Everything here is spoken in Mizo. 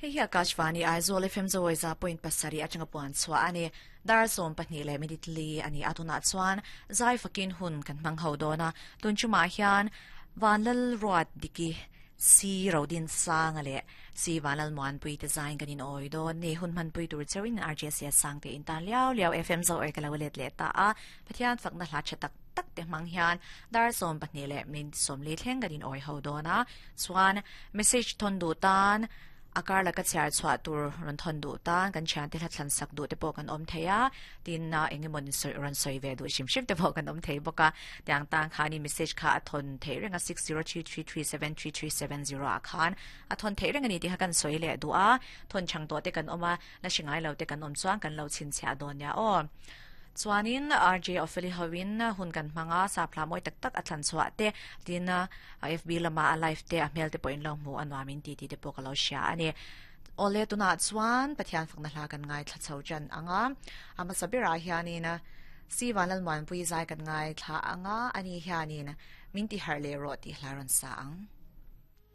Hei hi Akashvani Aizawl FM Zawiza point pasarih atanga puan chhuah a ni. Dar sawm pahnih leh minute li a ni a, tunah chuan zai fakin hun kan hmang ho dawn a. Tun chumah hian Vanlal Ruat Diki Si Rodin Sanga leh Si Vanlal Muanpui te zaiin kan inawi dawn ni. Hun hmanpui tur cheuhin RJCS Sangte in tan liau liau FM Zawi ka lo let leh ta a. Pathian fakna hla tha tak tak te hmang hian dar 12 leh minute 40 thleng kan inawi ho dawn a. Chuan message thawn duh tan a kar laka chhiar chhuah tur rawn thawn duh tan kan thiante hla thlan sak duh te pawh kan awm thei a, tin eng emaw rawn sawi ve duh hrim hrim te pawh kan awm thei bawk a. Tiang tan khanin message kha a thawn theih reng a 6033373370 ah khan a thawn theih reng a ni tih kha kan sawi leh duh a, thawn chhang tawh te kan awm a, la hre ngai lo te kan awm chuan kan lo chhinchhiah dawn nia aw. Chuanin RJ Opheli hoin hun kan hmang a, sap hla mawi tak tak a thlan chhuah te, tin FB lama a live te a hmel te pawhin lo hmu a nuamin ti tih te pawh ka lo hria a ni. Awle tunah chuan Pathian fakna hla kan ngaithla chho tan ang a, a hmasa berah hianin Si Vanlalmuanpui zai kan ngaithla ang a, ani hianin min ti harh leh rawh tih hla rawn sa ang.